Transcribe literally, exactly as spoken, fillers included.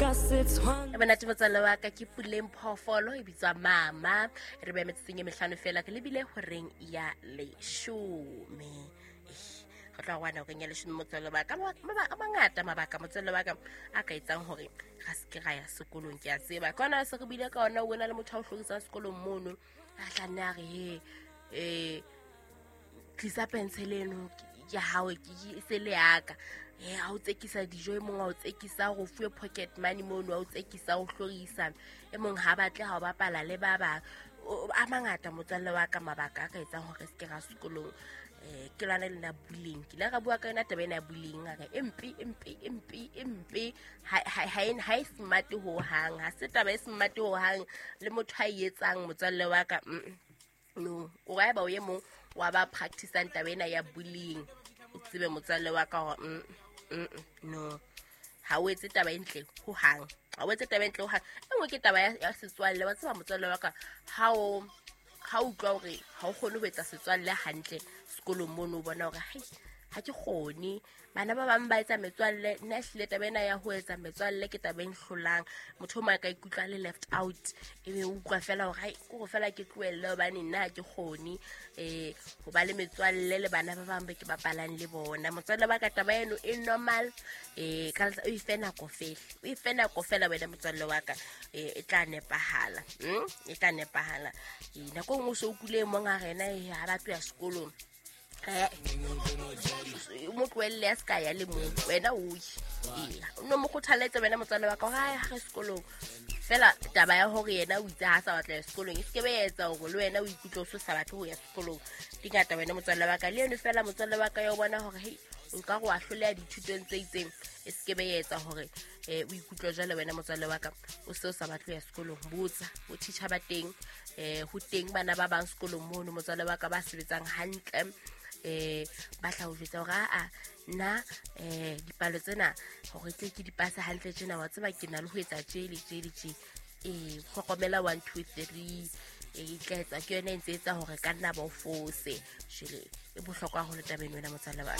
E monate motswalle wa ka, ke Puleng Phoofolo e bitswa Mama. Re beha metsotsong e mehlano fela re lebile horeng ya leshome. Re tla wana horeng ya leshome motswalle wa ka. Mabaka a mangata mabaka motswalle wa ka a ka etsang hore ra se ke ra ya sekolong, ke a tseba. Ka ona se re buile ka ona, o na le motho a o hlorisang sekolong mono, a tla nne a re he eh tlisa pencil eno ke hao, ke se le yaka. Eh ha o tsekisa dijo, e mong ha o tsekisa go fuwe pocket money mono, ha o tsekisa o hlorisa, e mong ha batle ha o bapala le ba bang. A mangata motswalle wa ka mabaka a ka etsang hore se ke ra sekolong. Eh ke lwana le na bullying, ke ile ra bua ka yona taba ena ya bullying, a re empe empe empe empe ha ha ha e smart ho hang, ha se taba e smart ho hang le motho a e etsang motswalle wa ka. No, o ra ba o ye mong wa ba practiceang taba ena ya bullying, o tsebe motswalle wa ka hore no ha o etse taba e ntle ho hang, ha o etse taba e ntle ho hang. E nngwe ke taba ya setswalle, wa tseba motswalle wa ka, ha o ha o utlwa hore ha o kgone ho etsa setswalle hantle sekolong mono, o bona hore hai ha ke kgone, bana ba bang ba etsa metswalle, nna ehlile taba ena ya ho etsa metswalle ke taba e nhlolang. Motho o mong a ka ikutlwa le left out, ebe o utlwa fela hore hai ke hore fela ke tlohelle hobane nna ha ke kgone eh ho ba le metswalle le bana ba bang ba ke bapalang le bona. Motswalle wa ka taba eno e normal, eh ka o ife nako fela, o ife nako fela wena motswalle wa ka, eh e tla nepahala, mm e tla nepahala. Eh nako e nngwe o so kule mong a rena ha ba tloya sekolong, eh mo tlohelle a ska ya le mong, wena o ye no mo kgothaletse wena motswalle wa ka hore ha re sekolong fela. Taba ya hore yena o itse ha sa batla ya sekolong e se ke be ya etsa hore le wena o ikutlwe o so sa batle ho ya sekolong. Di ngata wena motswalle wa ka, le eno fela motswalle wa ka ya o bona hore hei nka go a hloleha dithutong tse itseng, e se ke be ya etsa hore eh o ikutlwe jwale wena motswalle wa ka o se o sa batle ho ya sekolong. Botsa bo teacher ba teng, eh ho teng bana ba bang sekolong mono motswalle wa ka ba sebetsang hantle, eh ba tla o jwetsa hore a nna eh dipalo tsena hore tle ke di pase hantle tjena, wa tseba ke na le ho etsa tje le tje le tje, eh hlokomela one two three e tla etsa ke yona e ntse etsa hore ka nna ba o fose. Jwale e bohlokwa haholo tabeng wena motswalle wa.